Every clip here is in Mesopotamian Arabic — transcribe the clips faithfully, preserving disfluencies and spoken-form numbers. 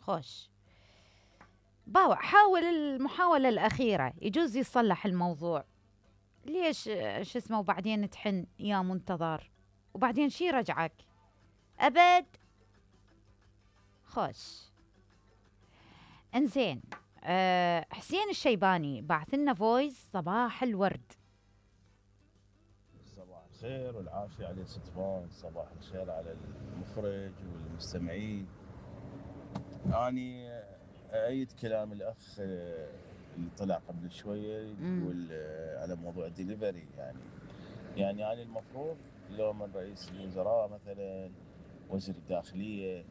خوش. باوع حاول المحاولة الأخيرة يجوز يصلح الموضوع. ليش شو اسمه وبعدين تحن يا منتظر وبعدين شي رجعك أبد. خوش. انزين. أه حسين الشيباني بعث لنا فويس. صباح الورد. صباح الخير والعافية على ستفان. صباح الخير على المخرج والمستمعين. أني أيد كلام الأخ اللي طلع قبل شوية يقول على موضوع الدليفري. يعني يعني يعني المفروض لو من رئيس الوزراء مثلا وزير الداخلية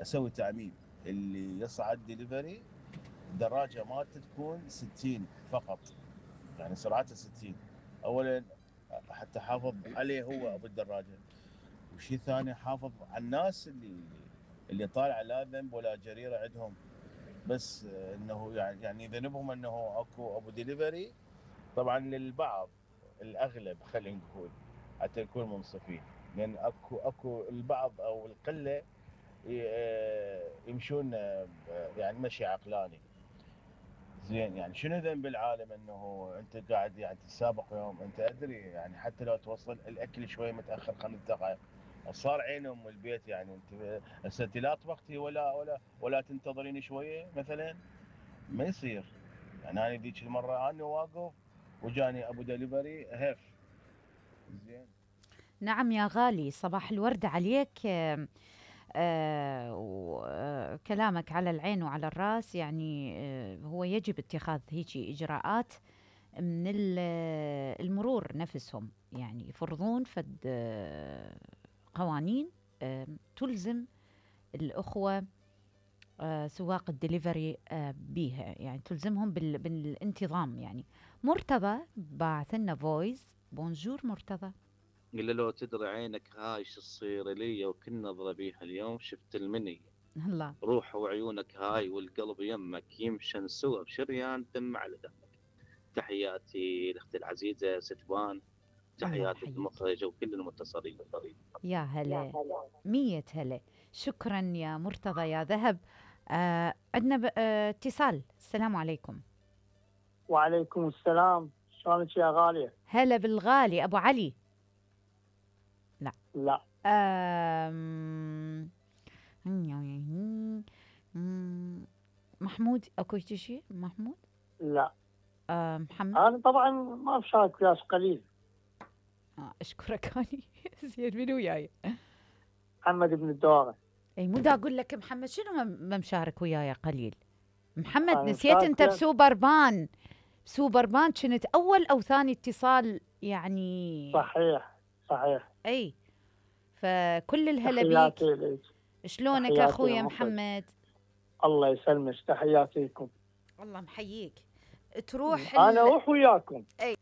أسوي تعميم اللي يصعد دليفري دراجة مالته تكون ستين فقط، يعني سرعتها ستين أولا حتى حافظ عليه هو أبو الدراجة، وشي ثاني حافظ على الناس اللي اللي طالع لا ذنب ولا جريرة عندهم، بس انه يعني يعني ذنبهم انه اكو ابو ديليفري. طبعا للبعض الاغلب خلينا نقول حتى نكون منصفين، لان اكو اكو البعض او القله يمشون يعني مشي عقلاني. زين يعني شنو ذنب العالم انه انت قاعد يعني تسابق يوم انت ادري يعني حتى لو توصل الاكل شوي متاخر خمس دقائق صار عين ام البيت. يعني انت هسه انت لا طبختي ولا ولا ولا تنتظرين شويه مثلا، ما يصير. يعني انا ذيك المره انا واقف وجاني ابو دليفري هف. زين. نعم يا غالي، صباح الورد عليك. آه آه وكلامك على العين وعلى الراس. يعني آه هو يجب اتخاذ هيك إجراءات من المرور نفسهم، يعني يفرضون فد آه قوانين آه تلزم الأخوة آه سواق الدليفري آه بيها، يعني تلزمهم بال بالانتظام. يعني مرتضى باعث لنا فويس. بونجور مرتضى. قل له لو تدري عينك هاي شو تصير لي وكل نظرة بيها اليوم شفت المنية. الله. روح وعيونك هاي والقلب يمك يمشن سوا بشريان دم على دمك. تحياتي لاختي العزيزة ستبان، الله تحياتي يحييك للمخرجة وكل المتصلين بالطريق. يا هلا. مية هلا. شكرا يا مرتضى يا ذهب. آه عندنا آه اتصال. السلام عليكم. وعليكم السلام. شلونك يا غالية؟ هلا بالغالي أبو علي. لا لا. آم... محمود اكو شيء محمود؟ لا. آه محمد. انا طبعا ما بشارك وياك قليل. آه اشكرك هاني. زين من وياي؟ محمد بن الدوغة. اي مو دا اقول لك محمد شنو ما مشارك وياي قليل. محمد أنا نسيت انت مشارك. بسوبر بان. سوبر بان كنت اول او ثاني اتصال يعني. صحيح صحيح. اي فكل الهلا بيك. تحياتي لك. شلونك تحياتي اخويا للمخرج. محمد؟ الله يسلمك. تحياتي لكم. الله محييك. تروح انا ال... اروح وياكم. اي